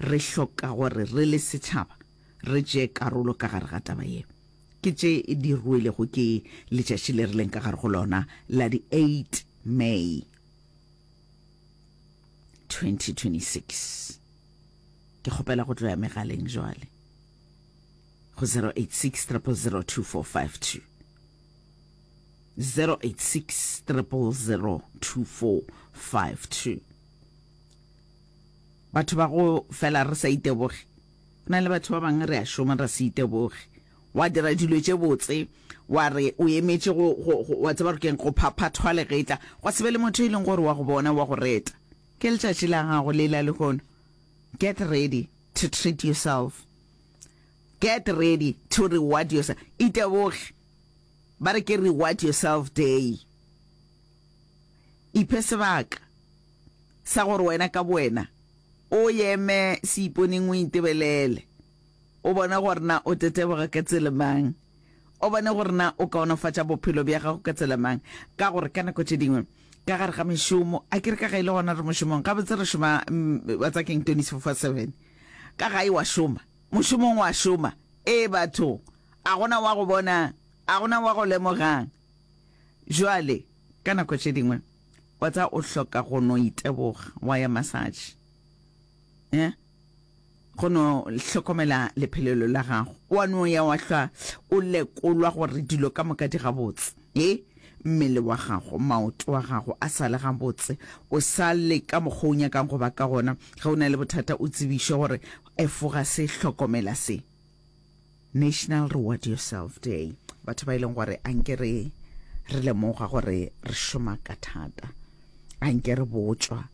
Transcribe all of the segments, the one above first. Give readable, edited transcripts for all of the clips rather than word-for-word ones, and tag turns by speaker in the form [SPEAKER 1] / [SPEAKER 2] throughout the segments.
[SPEAKER 1] Re hloka gore re le setšhaba re tšee karolo ka gare ga taba ye. Ke tše di ruelego ke letšatši le re leng ka gare go lona la di 8 May 2026. Ke kgopela go tlo ya megaleng jwale go 086 000 2452. 086 000 2452. Batho ba go fela re sa iteboge. Go na le batho ba bangwe re a šoma ra se iteboge. Wa dira dilo tše botse, wa re o emetše go, go, go, wa tseba gore keng, go phaphathwa legetla, gwa se be le motho e leng gore wa go bona, wa go reta. Ke letšatši la gago le la lehono. Get ready to treat yourself. Get ready to reward yourself. Iteboge. Ba re ke reward yourself day. Iphe sebaka sa gore wena ka bowena o eme seiponeng o itebelele, o bone gore na o teteboga ka tsela mang, o bone gore na o kaonafatša bophelo bja gago ka tsela mang. Ka gore ka nako tše dingwe ka gare ga mešomo, a ke re ka ga e le gona re mošomong, gabotse re šoma wa tsa keng 24/7, ka gae wa šoma, mošomong wa šoma, ee batho, a gona wa go bonang, a gona wa go lemogang. Jwale ka nako tše dingwe wa tseba o hloka go no iteboga wa ya massage eh go no hlokomela lephelelo la gago wa no ya wa hlwa o lekolwa gore dilo ka moka di gabotse e mmele wa gago maoto wa gago a sa le gabotse o sa le ka mokgwa o nyakang go ba ka gona ge o na le bothata o tsebišwe gore efoga se hlokomela se National Reward Yourself Day. Batho ba e leng gore a nke re re lemoga gore re šoma ka thata, a nke re botšwa,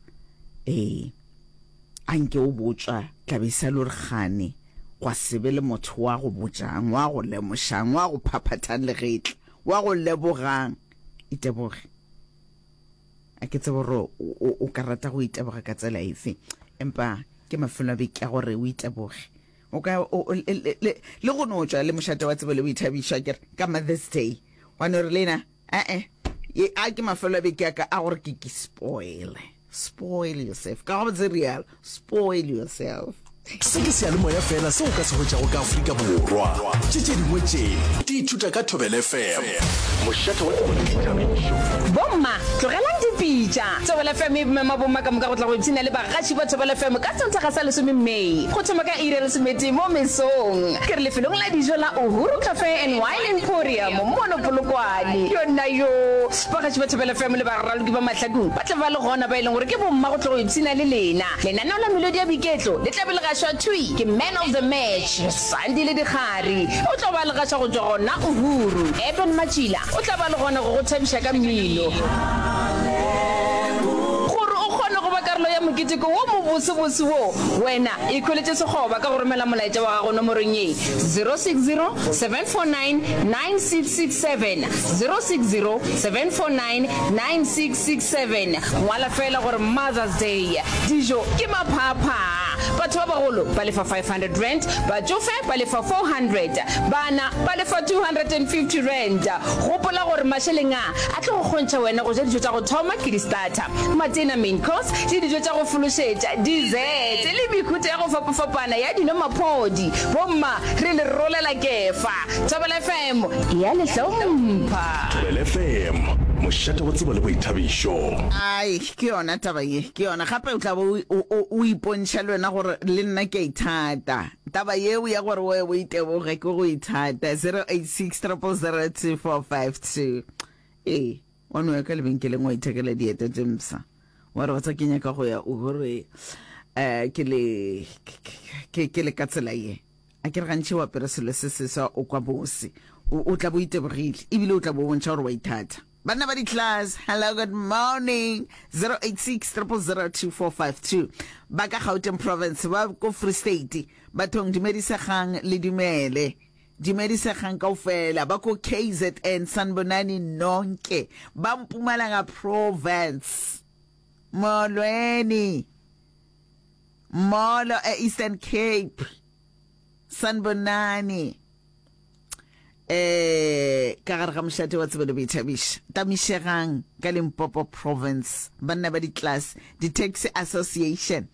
[SPEAKER 1] ee, a nke o botšwa tlabe sa le gore gane gwa se be le motho wa go botšang, wa go lemošang, wa go phaphathang legetla, wa go lebogang. Iteboge. A ke tsebe gore o ka rata go iteboga ka tsela efe, empa ke mafelo a beke a gore o iteboge. O ka le go no tšwa le mošate wa tsebo le boithabišo akere ka Mother's Day wa no re lena ee ye a ke mafelo a beke a ka a gore ke ke spoil spoil yourself ka gabotse real spoil yourself.
[SPEAKER 2] Se ke seyalemoya fela seo o ka se hwetšago ka Afrika Borwa. Tše tše dingwe tše di ithuta ka Thobela FM. Mošate wa tsebo le boithabišo.
[SPEAKER 3] Bomma, tlogelang dipitša! Thobela FM e mema bomma ka moka go tla go ipshina le bagaši ba Thobela FM ka Sontaga sa lesome May go thoma ka iri ya lesometee mo mesong. Ke re lefelong la dijo la Uhuru Cafe and Wine Emporium mono Polokwane. Yonna yoo! Bagaši ba Thobela FM le baraloki ba mahlakong ba tla ba le gona ba e leng gore ke bomma go tlo go ipshina le lena. Lenaneo la Melodi ya Boiketlo le tla be le gašwa thwi ke Man of the Match, Sandile Dikgari. O tlo ba le gaša go tšwa gona Uhuru. Eben Matšila o tla ba le gona go go thabiša ka mmino. Gore o kgone go ba karolo ya moketeko wo mobosebose wo, wena ikhweletše sekgoba ka go romela molaetša wa gago nomorong ye, 060 749 9667, 060 749 9667. Ngwala feela gore Mother's Day. Dijo ke maphaaphaa. Batho ba bagolo ba lefa R500, batšofe ba lefa R400, bana ba lefa R250. Gopola gore mašeleng a a tlo go kgontšha wena go ja dijo tša go thoma ke di-starter, matena, main course, le dijo tša go fološetša, dessert, le mehuta ya go fapafapana ya dino maphodi. Bomma, re le rolela kefa. Thobela FM e a le hlompha.
[SPEAKER 2] Thobela FM, mošate wa tsebo le boithabišo.
[SPEAKER 1] Ai, ke yona taba ye, ke yona. Gape o tla be o, o, o ipontšha le wena gore le nna ke a ithata. Taba yeo ya gore o o iteboge ke go ithata. 086 000 2452. Ee, wa no ya ka lebenkeleng wa ithekela dieta tše mpsha. Wa re wa tsa ke nyaka go ya Uhuru eh ke le ke ke le ka tsela ye. A ke re gantši o apere selo se seswa o kwa bose. O, o tla bo itebogile ebile o tla bo bontšha gore wa ithata. Banna ba di-class, hello, good morning. 086 000 2452. Ba ka Gauteng province, ba ko Free State, bathong dumedisegang le dumele. Dumedisegang kaofela, ba ko KZN, sanibonani nonke. Ba Mpumalanga province. Molweni. Molo e Eastern Cape. Sanibonani. Eh ka gare ga mošate wa tsebo le boithabišo. Tamišegang ka Limpopo province. Banna ba di-class, di-taxi association.